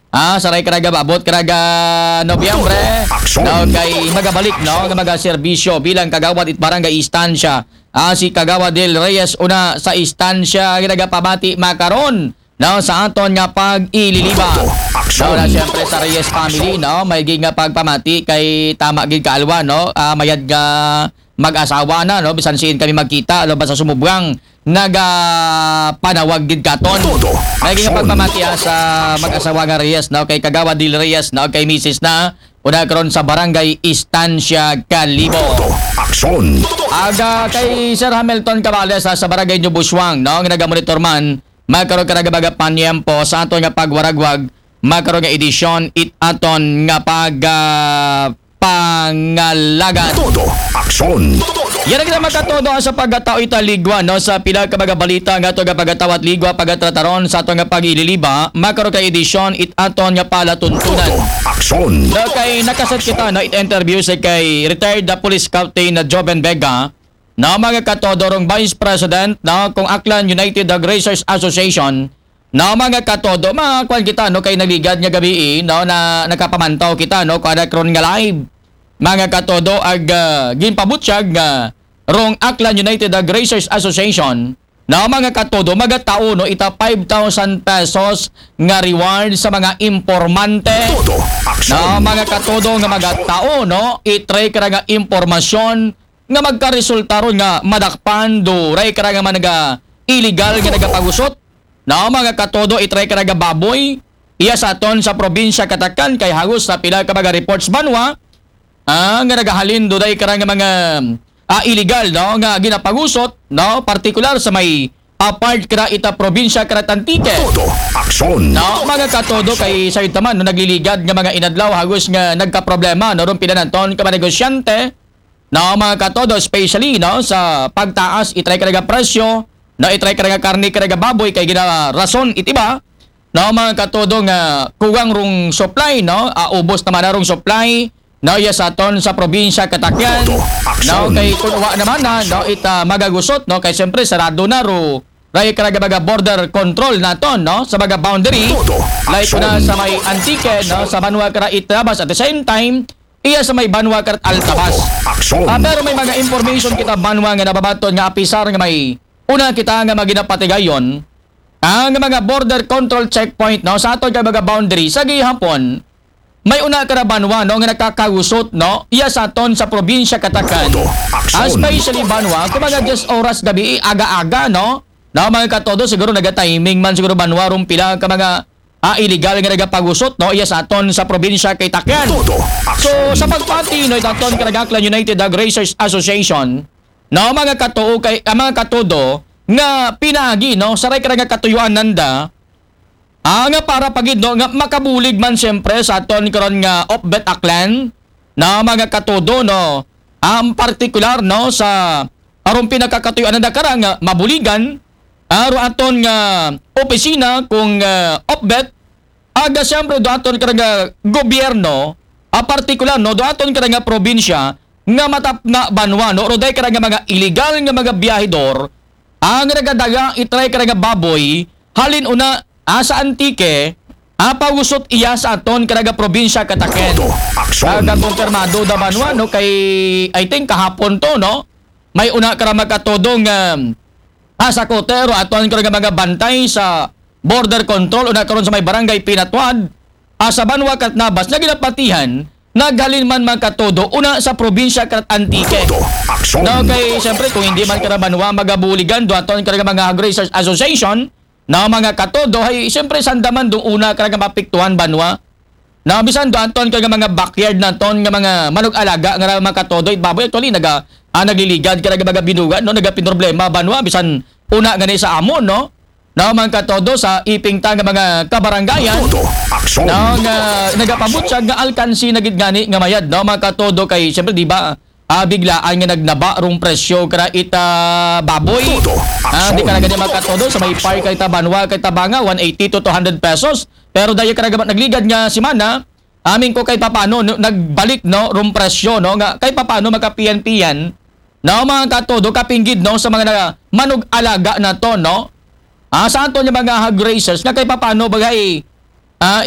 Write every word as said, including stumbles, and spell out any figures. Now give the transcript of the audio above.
Ah, saray ka nagababot ka naga Nobyembre. Aksyon. No, kay magabalik, no, nga magaserbisyo bilang kagawad it barangay istansya. Ah, si Kagawad Del Reyes una sa istansya nga nagapamati makaron, no, sa aton nga pag-ililiba. Todo aksyon. No, na siyempre sa Reyes family, no, may gid nga pagpamati kay tama gid kaalwa, no, ah, mayad nga mag-asawa na, no, bisan siin kami magkita, no, basta sumubwang nagapanawag gid katon. Todo. May gid nga aksyon. Pagpamati, ah, sa mag-asawa nga Reyes, no, kay Kagawad Dil Reyes, no, kay misis na, una karon sa Barangay Estancia Calibo. Todo aksyon. Aga kay Sir Hamilton Cabales, ah, sa Barangay New Busuang, no, nga nagamonitor man, magkaroon ka nagabaga panyempo sa aton nga pagwaragwag, magkaroon nga edisyon, it aton nga pag, ah, pangalagan. Todo aksyon. Yan ang kita magkatodo sa pagkatao ita ligwa, no, sa pila ka mga balita nga ato nga pagkatawat ligwa pagkatrataron sa ato nga pag-ililiba, makaro ka edisyon it aton nga palatuntunan. Todo aksyon. No, kay nakasat kita, no, it interview sa kay retired na police captain na Joven Vega, no, mga katodo rong Vice President, no, kung Aklan United Hog Raisers Association, no, mga katodo, mga kwan kita, no, kay nagligad nga gabi, no, na nakapamantaw kita, no, kada karon nga live. Mga katodo, ag, ah, ginpabutyag nga rong Aklan United Hog Raisers Association, no, mga katodo, magatao, no, ita five thousand pesos nga reward sa mga impormante. Todo aksyon. No, mga katodo, nga magatao, no, itry ka nga impormasyon nga magkaresulta ron nga madakpan, duray ka nga mga illegal nga nagapagusot. No, mga katodo, itry ka nga baboy. Iya sa aton sa probinsya Katakan kay hagos na pila ka mga reports banwa, ah, nga nagahalin duday ka nga mga, ah, illegal, no, nga ginapagusot, no, partikular sa may, ah, part kara ita probinsya kara Antique. Todo aksyon. No, mga katodo, kay sayod taman, no, nagliligad nga mga inadlaw hagos nga nagkaproblema, no, rong pila naton ka mga negosyante, no, mga katodo, especially, no, sa pagtaas itry ka nga presyo, no, itry ka nga karne ka nga baboy kay gina rason itiba, no, mga katodo, nga kuwang rong supply, no, ah, ubos naman na rong supply, no, iya sa aton sa probinsya Katakyan. Todo aksyon. No, kay kung wa naman na, no, ita magagusot, no, kay siyempre sarado na ro ray ka nga mga border control naton, no, sa mga boundary. Todo like aksyon. Na sa may Antique, no, sa banwa kara Itabas, at the same time, iya sa may banwa kara Altabas. Todo aksyon. Ah, pero may mga information kita banwa nga nababaton nga apisar nga may una kita nga maginapatigayon, ang mga border control checkpoint, no, sa aton nga mga boundary sa gihapon, may una ka na banwa, no, nga nakakagusot, no, iya sa aton sa probinsya Katakan. Todo aksyon. Especially banwa kung mga diyes oras gabi, aga-aga, no, no, mga katodo, siguro nagatiming man siguro banwa rong pila ka mga, ah, illegal nga nagapagusot, no, iya sa aton sa probinsya kay Takyan. Todo aksyon. So, sa pagpati, no, itaton ka nag-Aklan United Hog Raisers Association, no, mga katuo kay, ah, mga katudo, nga pinagi, no, saray ka nga katuyuan nanda, ah, nga para pa gid, no, nga makabulig man siyempre sa aton karon nga Opbet Aklan, na mga katudo, no, ang partikular, no, sa aron pinakakatuyoan na kara nga mabuligan, aro aton nga opisina kung, ah, Opbet, aga siyempre do aton kara nga gobyerno, ah, partikular, no, do aton kara nga probinsya nga matapna banwa, no, ro day kara nga mga illegal nga mga biyahedor, ang nagadaga itry kara nga baboy halin una, ah, sa Antique, ah, pagusot iya sa aton kara nga probinsya Kataken. Todo aksyon. Aga kumpirmado da banwa, no, kay I think kahapon to, no, may una kara magkatodo nga, ah, sa kotero aton kara nga mga bantay sa border control una karon sa may barangay Pinatuad, ah, sa banwa Katnabas na ginapatihan naghalin man magkatodo una sa probinsya kat Antique. Todo aksyon. No, kay siyempre kung hindi man kara banwa magabuligan do aton kara nga mga Hog Raisers Association, no, mga katodo, ay siyempre sanda man do una kara nga mapiktuhan banwa. No, bisan do aton kara nga mga backyard naton nga mga manug-alaga nga mga katodo, it baboy actually naga, ah, nagliligad kara nga mga binugan, no, nagapinroblema banwa bisan una gani sa amon, no. No, mga katodo, sa iping ta nga mga kabarangayan, todo aksyon. No, nga nagapabutyag nga alkansi na gid gani nga mayad, no, mga katodo, kay siyempre di ba, ah, biglaan nga nagnaba rong presyo kara ita baboy. Todo ah, di aksyon. Kara gani mga katodo, sa may par kay tabanwa kay tabanga one eighty to two hundred pesos. Pero daya kara gama nagligad nga semana, amin ko kay papano, no, nagbalik, no, rong presyo, no, nga kay papano magkapiyan-piyan, no, mga katodo, kapinggid, no, sa mga na, manug-alaga nato, no. Ah, sa aton nga mga hog raisers nga kay papano bagay, ah,